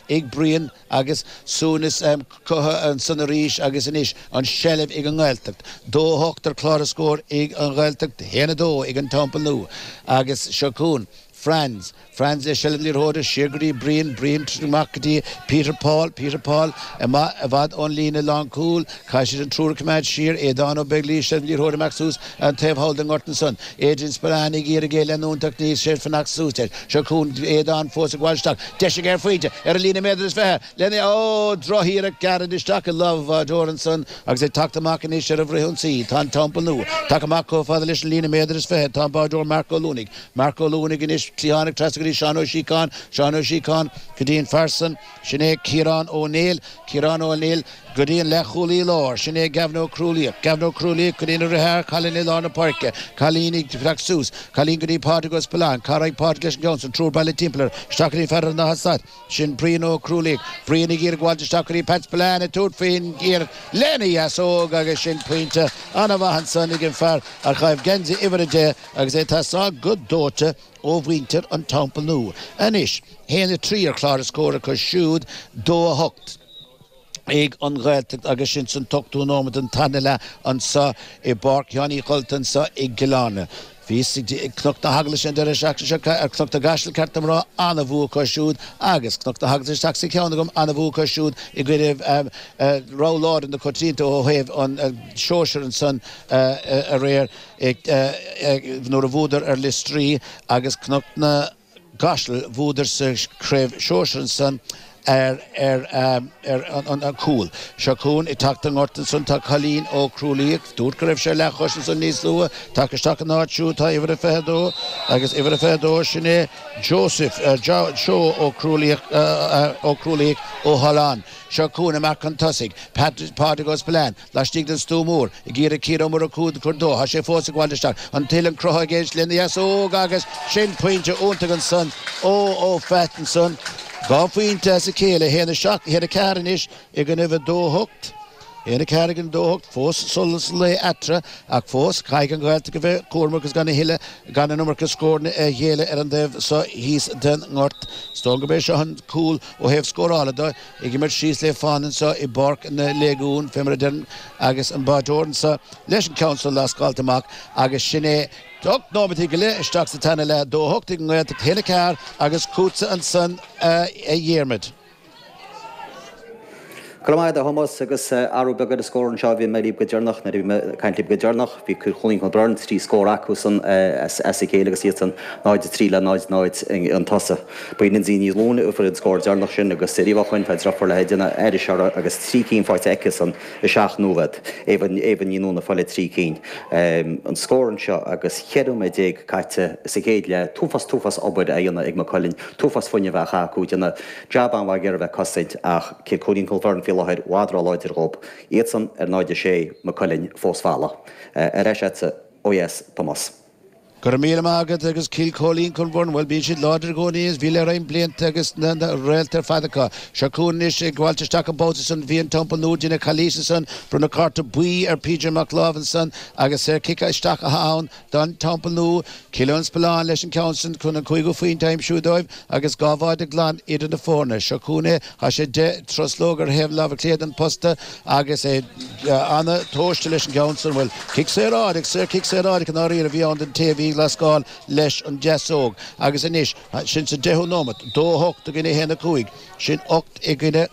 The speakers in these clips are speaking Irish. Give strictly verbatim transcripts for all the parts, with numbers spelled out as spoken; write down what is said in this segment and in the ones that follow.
ag Brian agus suaimhneas curtha ansan arís agus anois an seilbh ag an nGaeltacht. Dó a hocht ar chlár na scór ag an Ghaeltacht, haon a dó ag an Teampall Nua agus seo chugainn Franz. Franz le seilbh na liathróide siar go dtí Brian, Brian amach go dtí Peter Paul, Peter Paul amach i bhfad ón líne lánchúil, caithfidh siad an triúr a choimeád siar, Aodán Ó Beaglaoich seilbh na liathróide amach suas an taobh thall den ngort ansan. Adrian Spillane ag iarraidh é leanúint ach níl sé fanacht suas air. Seo chugainn Aodán fós ag gabháil isteach. Deis aige ar phointe ar an líne méadar is fiche lena ó drochiarracht gairid isteach i lámh an bháireoir ansan agus ag teacht amach anois ar an bhfrithionsaí. Tá an Teampall Nua tagtha amach chomh fada leis an líne méadar is fiche. Tá an báireoir Marc Ó Luanaigh. Marc Ó Luanaigh anois cliathánach trasna go dtí Seán Ó Síocháin, Seán Ó Síocháin go dtí an fear san, sin é Ciarán Ó Néill, Ciarán Ó Néill go dtí an leathchúlaí láir, sin é Gavin Ó Crualaoich, Gavin Ó Crualaoich go dtí na deartháir Colin i lár na páirce, Colin ag teacht suas, Colin go dtí Pádraig Ó Spealáin, cá raghaidh Pádraig leis an gceann san, triúr bailithe timpeall air, isteach go dtí fear an Átha Stad, sin Brian Ó Crualaoich, Brian ag iarraidh gabháilt isteach go dtí Pat Spillane ag tabhairt faoin iarracht lena dheasóg agus sin pointe an-mhaith ansan ag an fear a chaith geansaí uimhir a deich agus é ag teastáil go dóite ó mhuintir an Teampaill Nua. Anois, haon a trí ar chlár na scór acu siúd, dó a hocht ag an Ghaeltacht agus sin san ochtú nóiméad den tarna leath anseo i bPáirc Sheáin Uí Chodhla anseo i gCill Airne. Bhí Cnoc na hEaglaise an deireadh seachtaine seo ar Cnoc na gCaiseal ceart dom a rá an-bhua acu siúd agus Cnoc na hEaglaise isteach sa cheann agam an-bhua acu siúd i gcoinnibh rogha láidir na coitianta ó thaobh an sóisir ansan aréir nuair a bhuadar ar Lios Drí agus Cnoc na gCaiseal bhuadar sa chraobh sóisir ansan ar ar ar an an cúl. Seo chugainn ag teacht an ngort ansan tá Colin Ó Crualaoich, dúirt go raibh sé leathchois ansan níos luaithe, tagtha isteach an áit siúd tá uimhir a fiche dó agus uimhir a fiche dó sin é Joseph Joe Ó Crualaoich Ó Crualaoich Ó hAlláin. Seo chugainn amach chun tosaigh, Pádraig Ó Spillane, laistigh den stua mór, ag iarraidh Ciarán Ó Murchú a chur dó, tá sé fós ag gabháil isteach, an tuilleann cruthaithe aige lena dheasóg agus sin pointe iontach ansan ó ó Phat ansan. Dhá phointe as a chéile, haon a seacht, haon a ceathair anois i gcoinnibh a dó hocht. Haon a ceathair i gcoinne dó hocht, fós solas lae eatarthu ach fós caithfidh an Ghaeltacht a bheith cúramach agus gan a thuilleadh, gan an iomarca scóranna a ghéilleadh ar an dtaobh seo thíos den ngort. Is dóigh gurb é seo an cúl ó thaobh scórála de, ag imirt síos le fána anseo i bPáirc na Léigiún, fé mar a deirim, agus an báireoir anseo leis an ceann seo lascáilte amach agus sin é Ocht nóimeataí go leith isteach sa tarna leath, dó a hocht ag an nGaeltacht, haon a ceathair agus chugatsa ansan a Dhiarmaid. Go raibh maith agat a Thomáis agus athrú beag ar an scór anseo bhí mé libh go deireanach nuair a bhí mé ag caint libh go deireanach bhí Cill Chóilín Cluain Bheirn trí scór acusan as a chéile agus iadsan náid a trí le náid náid chun tosaigh. Ba í Lindsay Ní Luain a fuair an scór deireanach sin agus riamh ó shoin tá deirfiúr léi ag déanamh aithris uirthi agus trí cinn faighte aici-san i seacht nóiméad. Éabha Ní Nuanáin ag fáil a trí cinn. An scór anseo agus cheithre nóiméad déag caite sa chéad leath, t-uafás t-uafás obair á dhéanamh ag Maigh Cuilinn, t-uafás fuinnimh á chaitheamh acu, déanamh jab an-mhaith ag iarraidh bheith ag cosaint ach Cill Chóilín Cluain Bheirn faoi láthair i bhfad róláidir dhóibh. Iadsan ar náid a sé, Maigh Cuilinn fós folamh. Ar ais agatsa ó dheas, Tomás. Go raibh míle maith agat agus Cill Chóilín Cluain Bheirn, bhuel bíonn siad láidir i gcónaí is bhí le roinnt blianta agus na réalta ar fad acu. Seo chugainn anois ag gabháilt isteach an babhta san bhí an Teampall Nua déanamh calaois ansan, bronnadh cárta buí ar PJ Mac Láimh ansan agus saor cic isteach atá ann don Teampall Nua. Cillian Spillane leis an ceann san chun an cúigiú phointe a aimsiú dóibh agus dhá bháide glan idir na foirne. Seo chugainn é, tá sé deich truslóg ar thaobh láimhe clé den posta agus é ana-thomhaiste leis an gceann san. Bhuel, cic saoráideach, saor cic saoráideach i ndáiríre a bhí ann don té a bhí ag lascáil leis an deasóg. Agus anois, sin sa deichiú nóimeat, dó a hocht i gcoinne a haon a cúig, sin ocht i gcoinne,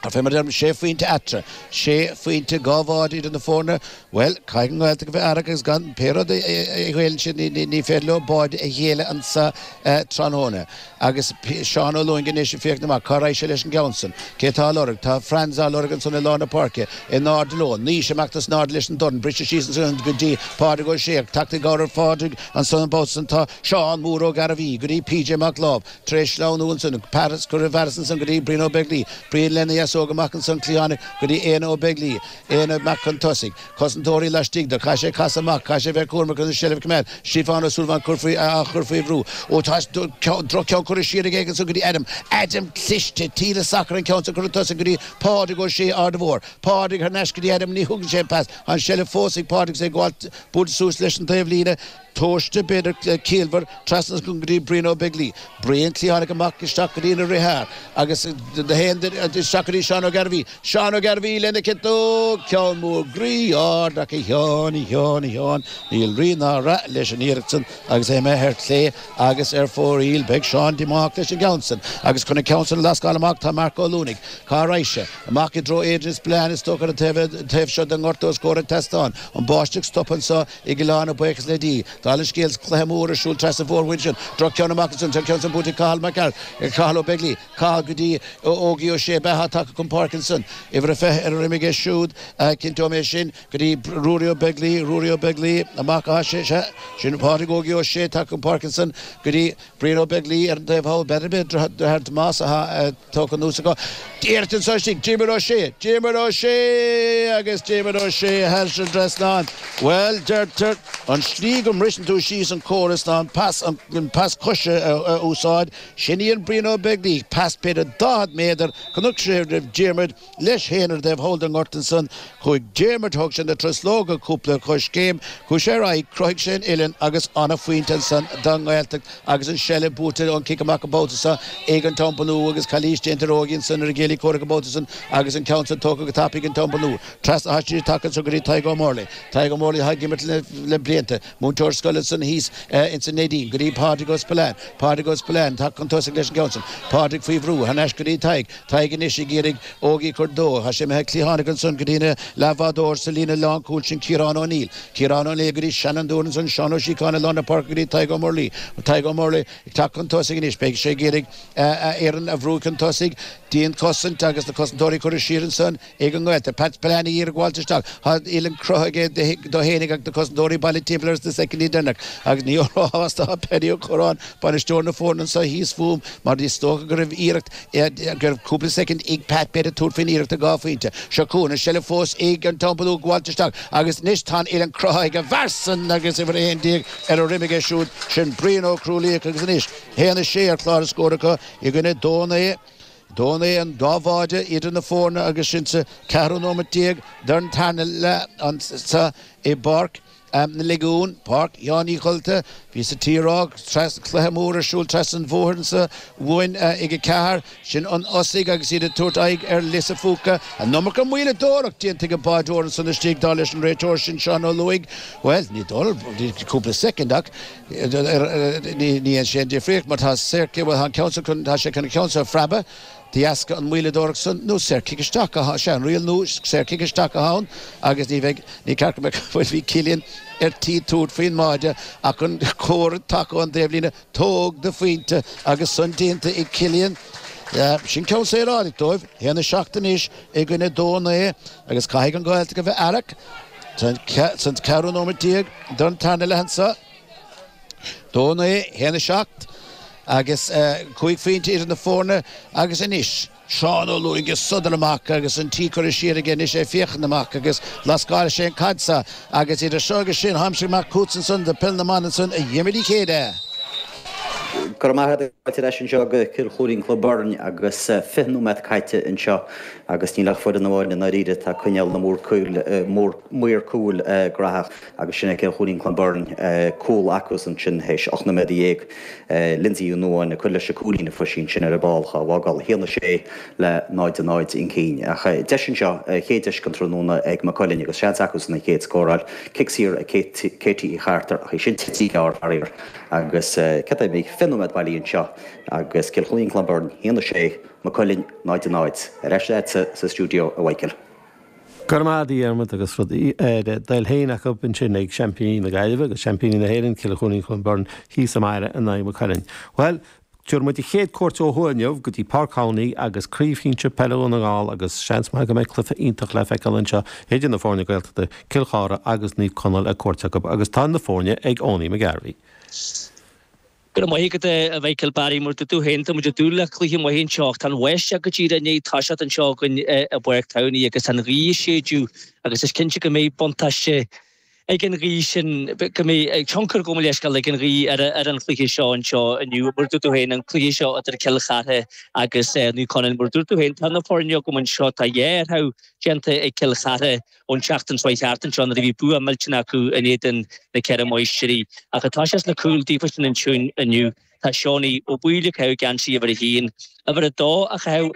fé mar a deirim, sé phointe eatarthu, sé phointe, dhá bháide idir na foirne. Bhuel, caithfidh an Ghaeltacht a bheith aireach agus gan pé rud a ghéilleann siad, ní féidir leo báide a ghéilleadh anso tráthnóna. Agus Seán Ó Lúing anois ag féachaint amach, cá raghaidh sé leis an gceann san? Cé atá á lorg? Tá Franz á lorg ansan i lár na páirce, in airde leo. Naois amach as in airde leis an dorn, briste síos ansan go dtí Pádraig Ó Sé, ag teacht i gcabhair ar Phádraig ansan an babhta san tá Seán Mór Ó Gairbhí go dtí PJ Mac Láimh, tar éis sleamhnú ansan, Paris, curtha i bhfearas ansan go dtí Brian Ó Beaglaoi, Brian lena dheasóg amach ansan, cliathánach go dtí Éanna Ó Beaglaoi, Éanna amach chun tosaigh, cosantóirí laistigh de, caithfidh sé casadh amach, caithfidh sé bheith cúramach chun an tseilbh a choimeád, Stiofán Ó Súilleabháin cur faoi, á chur faoi bhrú. Ó tá droch-cheann curtha siar aige ansan go dtí Adam, Adam cliste, tíle sacair an ceann san curtha chun tosaigh go dtí Pádraig Ó Sé, Ard a' Mhóir, Pádraig thar n-ais go dtí Adam, ní thugann sé an pas, an tseilbh fós ag Pádraig is é ag gabháil buailte suas leis an taobhlíne. Tomhaiste, b'fhéidir ciallmhar, trasna go dtí Brian Ó Beaglaoich. Brian cliathánach amach isteach go dtí na rithar agus isteach go dtí Seán Ó Gairbhí. Seán Ó Gairbhí lena chiotóg, ceann mór groí ard ach a Sheáin, a Sheáin, a Sheáin, níl rí ná rath leis an iarracht san agus é imithe ar chlé agus ar fóraoil. Beidh Seán díomách leis an gceann san agus chun an ceann san a lascáil amach tá Marc Ó Luanaigh. Cá raghaidh sé? Amach i dtreo Aidan Spillane is dócha ar an taobh seo den ngort os comhair an tseastáin. An bháisteach stoptha anseo i gCill Airne, buíochas le Dia. Dála an scéil, cluiche mór ar siúl trasna an mhórmhuir ansin. Droch-cheann amach ansin, tá an ceann san buaite ag Cathal Mac Gearailt, Cathal Ó Beaglaoich, Cathal go dtí Ógie Ó Sé, beatha tagtha chun páirce ansin. Uimhir a fiche ar a dhroim aige siúd, cinnteoidh mé sin, go dtí Ruairí Ó Beaglaoich, Ruairí Ó Beaglaoich, amach as sé, sea, sin Pádraig Ógie Ó Sé tagtha chun páirce ansin, go dtí Brian Ó Beaglaoich ar an taobh thall, b'fhéidir deartháir Tomás atá tógtha anuas acu. Iarracht anseo istigh, Diarmuid Ó Sé, Diarmuid Ó Sé agus Diarmuid Ó Sé thar an trasnán. Bhuel, deirtear, an tslí go mbriseann tú síos an córas ná an pas, an pas coise a úsáid. Sin í an Brian Ó Beaglaoich, pas b'fhéidir daichead méadar, chonaic sé roimh Diarmuid leis féin ar an dtaobh thall den ngort ansan. Chuaigh Diarmuid, thóg sé na truslóga cúpla coiscéim, chuaigh sé ar aghaidh, chruthaigh sé an uillinn agus an-phointe ansan don nGaeltacht agus an seilbh buaite ón cic amach an babhta seo ag an Teampall Nua agus calaois déanta ar Ógie ansan ar an gcéilí comhraic an babhta san agus an ceann san tógtha go tapaidh ag an Teampall Nua. Trasna thaistil tagtha anso go dtí Tadhg Ó Murlaigh. Tadhg Ó Murlaigh atá ag imirt le blianta. Múinteoir scoile ansan thíos ins an Neidín go dtí Pádraig Ó Spillane. Pádraig Ó Spillane tagtha chun tosaigh leis an gceann san. Pádraig faoi bhrú, thar n-ais go dtí Tadhg. Tadhg anois ag iarraidh Ógie a chur dó. Tá sé imithe cliathánach ansan go dtí na leathbhádóir sa líne lánchúil sin Ciarán Ó Neill. Ciarán Ó Neill go dtí seanfhondúir ansan Seán Ó Síocháin i lár na páirce go dtí Tadhg Ó Murlaigh. Tadhg Ó Murlaigh ag teacht chun tosaigh anois. Beidh sé ag iarraidh a fhoireann a bhrú chun tosaigh. Dianchosaint agus na cosantóirí curtha siar ansan ag an nGaeltacht. Pat Spillane ag iarraidh gabháilt isteach. Tá uillinn cruthaithe aige dó fhéinig ach na cosantóirí bailithe timpeall air sna soicindí deireanacha. Agus ní róshásta atá Paddy Ó Curráin, bainisteoir na foirne anseo thíos fúm, mar is dócha go raibh iarracht, go raibh cúpla soicind ag Pat b'fhéidir tabhairt faoin iarracht ar dhá phointe. Seo chugainn an seilbh fós ag an Teampall Nua ag gabháilt isteach agus anois tá an uillinn cruthaithe ag an bhfear san agus uimhir a haon déag ar a dhroim aige siúd, sin Brian Ó Crualaoich agus anois haon a sé ar chlár na scór acu i gcoinne dó naoi. Dó naoi an dá bháide idir na foirne agus sinn sa ceathrú nóiméad déag den tarna leath anso i bPáirc na Legiún, Páirc Sheáin Uí Dholta. Bhíos a' tí rá, cluiche mór ar siúl trasna an bhóthair anso uainn ag a ceathair. Sin an Osaigh agus iad ag tabhairt aghaidh ar Lios a' Phúca. An iomarca moilleadóireacht déanta ag an báideoir ansan istigh, dar leis an réiteoir sin Seán Ó Lúing. Bhuel, ní dóigh, cúpla soicind ach ní dhéanann sé aon difríocht mar tá saorchic, bhuel tá an ceann seo chun, tá sé chun an ceann seo a phreabadh. De dheasca an mhoilleadóireacht san, nó saorchic isteach atá, sea, an riail nua, saorchic isteach atá ann agus ní bheidh, ní ceart go mbeadh, bhuel bhí Cillian ar tí tabhairt faoin mbáide ach an comhartha tagtha ón dtaobhlíne, tóg do phointe agus san déanta ag Cillian. Sin ceann saorálach dóibh, a haon a seacht anois i gcoinne dó a naoi agus caithfidh an Ghaeltacht a bheith aireach san ceathrú nóiméad déag den tarna leath anso. Dó a naoi, a haon a seacht agus cúig phointe idir na foirne agus anois Seán Ó Lúing ag sodar amach agus an tí curtha siar aige anois é ag féachaint amach agus lascáil sé an caid seo agus idir seo agus sin tháimse amach chugat ansan do Peil na mBan ansan a Dhiarmuid Uí Chéide. Go raibh maith agat. Fáilte ar ais anseo go Cill Chluainín Club Bhoirn agus fiche nóiméad caite anseo agus níl ach foireann amháin i ndáiríre atá ag coinneáil na maor cúil graitheach agus sin é Cill Chluainín Club Bhoirn. Cúl acusan sin théis ocht nóiméad dhéag. Lindsay Ó Nuadháin ag cur leis an cúilín a fuair sí ansin ar an bpál dhá bhfágáil a haon a sé le náid a náid chun cinn. Ach deis anseo, chéad deis den tráthnóna ag Maigh Cuilinn agus seans acusan an chéad scór a fháil. Cic saor ag Katie Uí Chartair ach í sin tite gearr faraor agus cad é bhí fiche nóiméad bailí anseo agus Cill Chluainín Club Bhoirn a haon a sé, Maigh Cuilinn náid a náid. Ar ais leatsa sa stiúideo a Mhichael. Go raibh maith agat a Dhiarmuid agus rud ar a dtoil féin acu ansin ag seaimpíní na Gaillimhe agus seaimpíní na hÉireann, Cill Chluainín Club Bhoirn thíos i mbaile in aghaidh Maigh Cuilinn. Bhuel, tabharfaidh muid an chéad cuairt ó thuaidh inniu go dtí Páirc Thamhnaigh agus Craobh Shinsir Peile Dhún na nGall agus seans maith go mbeidh cluiche iontach le feiceáil anseo idir na foirne Gaeltachta, Cill Chartha agus Naomh Conaill ag cuairt acu agus tá na foirne ag Owenie McGarvey. Go raibh maith agat a Mhichael Barry mar dúirt tú féin tá muid ag dúil le cluiche maith anseo ach tá an bháisteach go díreach i ndiaidh toiseacht anseo againn i bPáirc Thamhnaigh agus an ghaoth ag séideadh agus is cinnte go mbeidh buntáiste ag an ghaoth sin, go mbeidh tionchar gabh mo leithscéal ag an ghaoth ar ar an chluiche seo anseo inniu. Mar dúirt tú féin, an cluiche seo idir Cill Chartha agus Naomh Conaill, mar dúirt tú féin, tá na foirne agam anseo, tá dhá athrú déanta ag Cill Chartha ón tseachtain seo thart anseo nuair a bhí bua millteanach acu in éadan na Ceithre Máistrí. Ach atá sé sna cúil daofa sin ansiúin inniu, tá Seánie Ó Baoill ag caitheamh geansaí uimhir a haon, uimhir a dó a chaitheamh ag